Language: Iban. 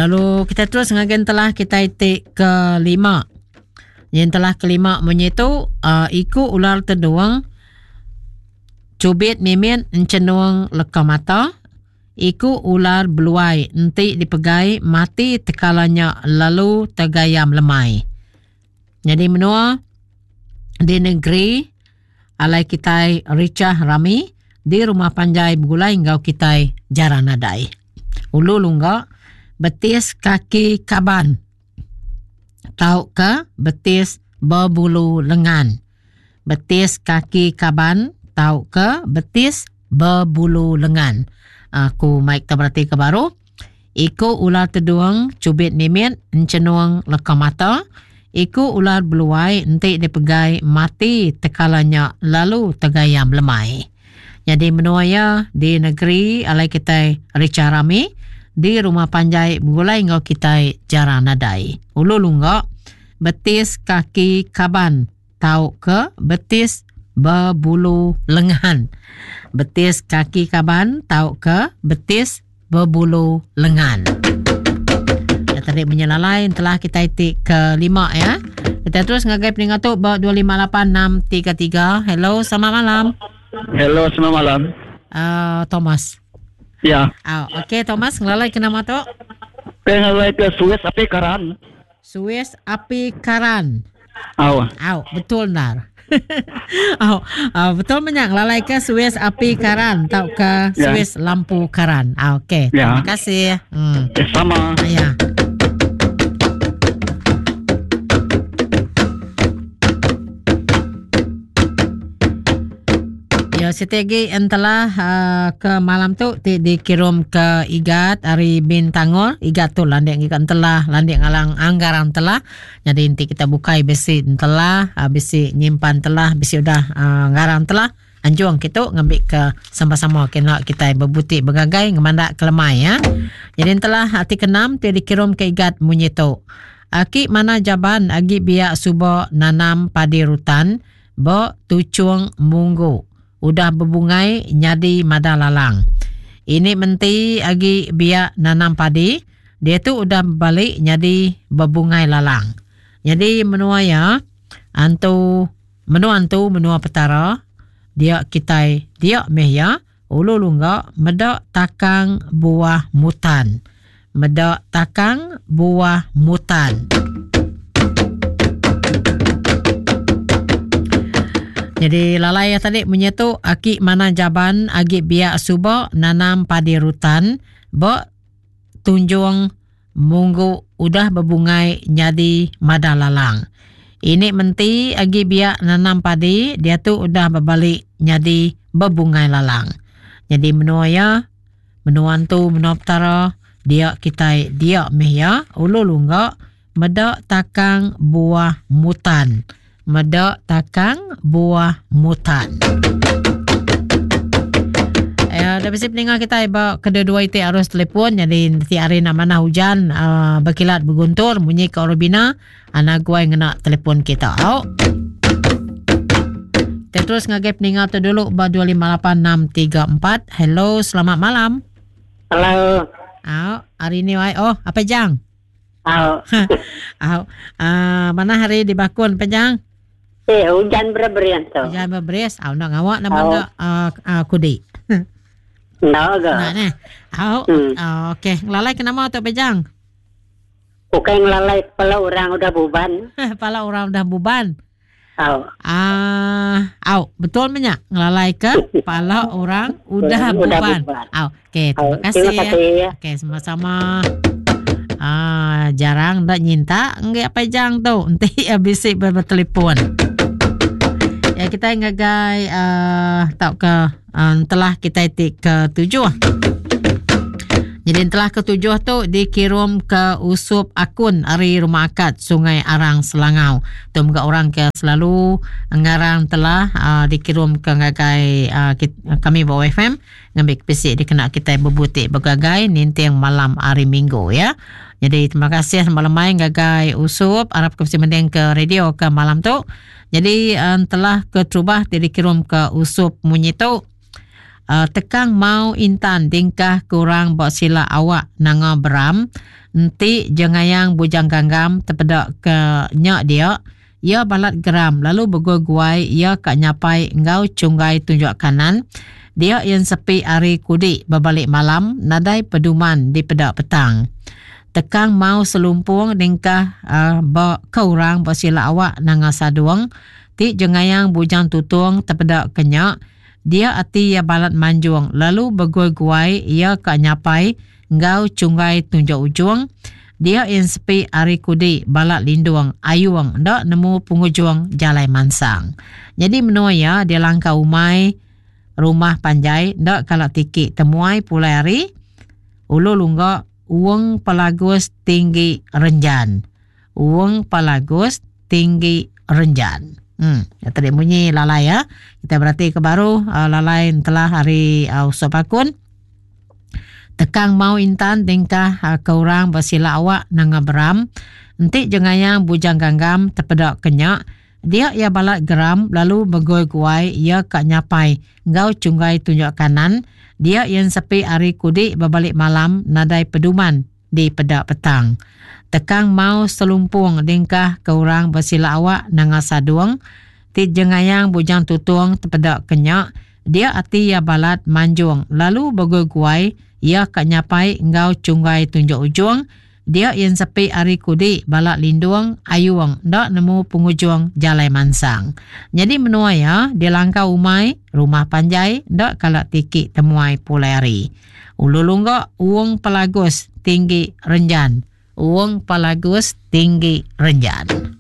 Lalu kita terus ngagai entelah kita ti kelima. Yang telah kelima munyi tu uh, iku ular tedung cubit mimit enchenung leka mata iku ular beluai enti dipegai mati tekala nya lalu tegayam lemai. Nyadi menua di negeri alai kitai richah rami di rumah panjai begulai enggau kitai jarang nadai. Ulu lungga betis kaki kaban tauka betis bebulu lengan. Betis kaki kaban tauka betis bebulu lengan. Aku mai kita beratika baru. Iku ular tedung chubit mimit enchenung leka mata. Iku ular beluai enti dipegai mati tekala nya lalu tegayam lemai. Nyadi menua iya di negeri alai kitai richah rami di rumah panjai begulai enggau kitai jarang nadai. Ulu lungga betis kaki kaban tauka betis bebulu lengan. Betis kaki kaban tauka betis bebulu lengan. Ya, tadi menyelalai telah kita ti kelima ya. Kita terus ngagai peninga tu ba 258633. Hello, selamat malam. Hello, selamat malam. Thomas. Ya. Oh, okey Thomas, ngelalai ke nama tu? Ngelalai ke Suis Api Karan. Suis api karan. Au. Au, betul endar. Au, au, betul menya ngelalai ke suis api karan tauka Ya. suis lampu karan. Au, okey. Ya. Terima kasih. Hmm. Eh, sama. Ya. Ya, siti agi entelah uh, ke malam tu ti dikirum ke Igat ari Bintangor. Igat tu landik ngiga entelah, landik ngalang anggarang entelah. Jadi enti kita bukai bisi entelah, uh, bisi nyimpan entelah, bisi udah uh, ngarang entelah, anjung kitu ngambi ke sama-sama kena kita bebuti begagai ngemandak ke lemai ya. Jadi entelah ti kenam ti dikirum ke Igat munyi tu. Aki mana jaban agi biak suba nanam padi rutan Ba tuchung munggu udah bebungai nyadi mada lalang. Ini menti agi biak nanam padi, diatu udah bebali nyadi bebungai lalang. Nyadi menua iya antu menua antu menua petara dia kitai dia meh iya ulu lungga meda takang buah mutan. Meda takang buah mutan. Jadi lalai ya tadi munyi tu aki mana jaban agi biak suba nanam padi rutan ba tunjung munggu udah bebungai nyadi mada lalang. Ini menti agi biak nanam padi diatu udah bebali nyadi bebungai lalang. Jadi menua iya Menua entu menua Petara dia kitai dia mih iya ulu lungga meda takang buah mutan. Meda takang buah mutan. Ya, dah bisi peninga kitai ba kedua-dua iti arus telefon jadi ti hari nak manah hujan uh, berkilat berguntur munyi ke Orobina anak guai ngena telefon kita. Au. Kita terus ngagai peninga tu dulu ba 258634. Hello, selamat malam. Hello. Au, hari ni wai. Oh, apa jang? Au. Au. Uh, mana hari di Bakun panjang? Eh, hujan bereberis tu. Hujan bereberis. Au nak ngawak nama uh, uh, kudi. Enda ga. Nah, neh. Au. Hmm. Uh, okey, ngelalai ke nama tu pejang? Bukan ngelalai kepala orang udah buban. Kepala orang udah buban. Au. Ah, au, betul menya ngelalai ke kepala orang udah Udah buban. buban. Au, okey, terima Au, kasih. terima kasih. Okey, sama-sama. Ah, jarang dak nyinta enggai apai jang tu enti bisi bertelefon. Ya kita ngagai uh, tauka uh, telah kita ti ketujuh. Jadi telah ketujuh tu dikirum ke Usup Akun ari Rumah Akad Sungai Arang Selangau. Tu mega orang ke selalu ngarang telah uh, dikirum ke ngagai uh, kami ba OFM ngambi ke bisi dikena kitai bebuti begagai ninting malam hari Minggu ya. Jadi terima kasih malam mai ngagai Usup arap ke bisi mending ke radio ke malam tu. Jadi uh, telah keterubah ti dikirum ke Usup munyi tu. Uh, tekang mau intan dingkah kurang ba sila awak nanga beram enti jengayang bujang ganggam tepeda ke nya dia iya balat geram lalu beguai-guai iya ka nyapai enggau chunggai tunjuk kanan dia iya sepi ari kudi bebalik malam nadai peduman dipeda petang. Tekang mau selumpung dingkah uh, ba ke orang ba sila awak nanga sadung ti jengayang bujang tutung tepeda ke nya Dia ati iya balat manjung lalu beguai-guai iya ka nyapai enggau chunggai tunjuk ujung. Dia iya ensepi ari kudi balat lindung ayung enda nemu pengujung jalai mansang. Nyadi menua iya di langkau umai rumah panjai enda kala tiki temuai pulai ari Ulu Lungga Wong Pelagus Tinggi Renjan. Wong Palagus Tinggi Renjan. Hmm, ya tadi munyi lalai ya. Kita berarti ke baru uh, lalai telah hari uh, Usop Akun. Tekang mau intan tingkah uh, ke orang bersila awak nanga beram. Enti jengayang bujang ganggam terpedak kenyak. Dia ia balat geram lalu begoi-guai ia ka nyapai enggau chunggai tunjuk kanan. Dia ia sepi ari kudi berbalik malam nadai peduman di peda petang. Tekang mau selumpung dingkah ke orang besila awak nanga sadung, ti jengayang bujang tutung tepeda ke nya, dia ati iya balat manjung lalu beguai-guai iya ka nyapai enggau chunggai tunjuk ujung, dia iya ensepi ari kudi bala lindung ayung enda nemu pengujung jalai mansang. Nyadi menua iya di langkau umai, rumah panjai enda kala tiki temuai pulai hari. Ulu lungga Wong Pelagus Tinggi Renjan. Wong Pelagus Tinggi Renjan.